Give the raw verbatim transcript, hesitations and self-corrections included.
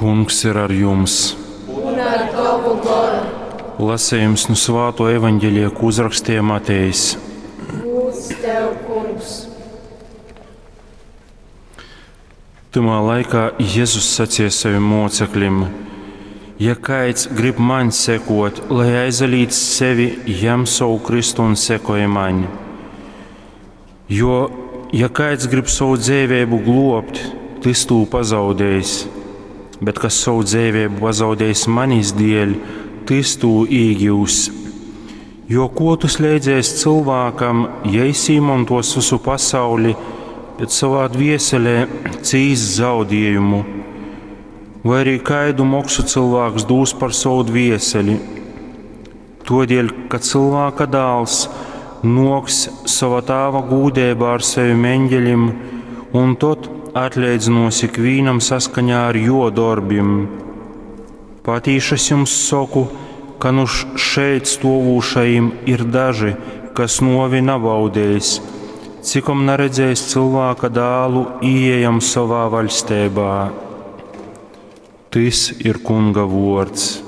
Kungs ir ar jums! Un ar tovu goru. Lasījums nu Svāto evaņģelija, ko uzrakstīja Matejs. Gūds tev, Kungs! Tymā laikā Jēzus sacīja saviem mocekļiem: Ja kaids grib man sekot, lai aizalīdz sevi, jam savu kristu un sekoja man. Jo, ja kaids grib savu dzīvību globt, tas tū pazaudējis, bet kas savu dzīvību pazaudējis manis dēļ, tas tū īgūs. Jo ko tu slēdzies cilvēkam, ja es īmantos visu pasauli, bet savā dvieselē cīs zaudējumu? Vai arī kaidu moksu cilvēks dūs par savu dvieseli? Todēļ, ka cilvēka dēls noks sava tāva gūdībā ar saviem eņģeļiem, un tad atleidzinos ikvienam saskaņā ar jo darbiem. Patīši es jums saku, ka nu šeit stovūšajiem ir daži, kas novi nabaudējis, cikom neredzējis cilvēka dēlu ieejam savā vaļstībā. Tis ir Kunga vārds.